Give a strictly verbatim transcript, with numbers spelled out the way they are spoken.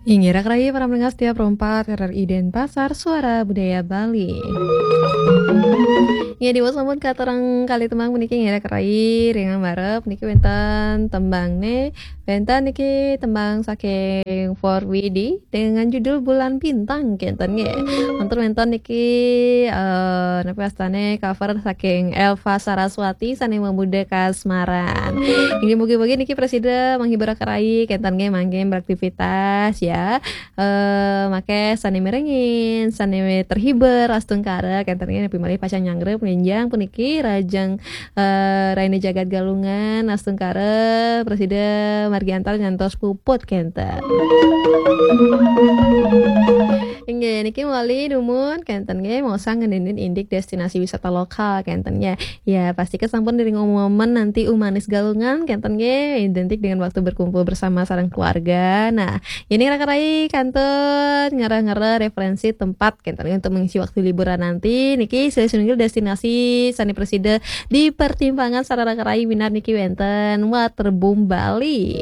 Inggih, raka rayi para pendengar setia Pro empat R R I Denpasar, Suara Budaya Bali. Inggih, diwaos sampun katerang kalih tembang puniki, inggih, raka rayi, ring ngarep niki wénten tembangné, wénten niki tembang saking Four B D dengan judul Bulan Bintang, kénten nggih. Wénten, wénten niki, eh, napa wastané, cover saking Elva Saraswati sané mamuda kasmaran. Inggih, mugi-mugi niki prasida menghibur raka rayi, kénten nggih, mangkin beraktivitas ya. Eh, mangke sané mirengin, sané terhibur astungkara, kénten nggih, napi malih pacang nyanggra nggih puniki rahajeng, eh, raina jagat Galungan, astungkara prasida margi antar ngantos puput, kénten. Inggih, niki malih dumun, kénten nggih, maosang ngeninin indik destinasi wisata lokal, kénten nggih. Ya, pasti sampun diring umumaken nanti Umanis Galungan, kénten nggih, identik dengan waktu berkumpul bersama sareng keluarga. Nah, ini raka rayi kantun ngarah-ngarah referensi tempat, kénten nggih, untuk mengisi waktu liburan nanti. Niki silih sinunggil destinasi sané prasida dipertimbangkan sareng raka rayi minab niki wénten Waterboom Bali.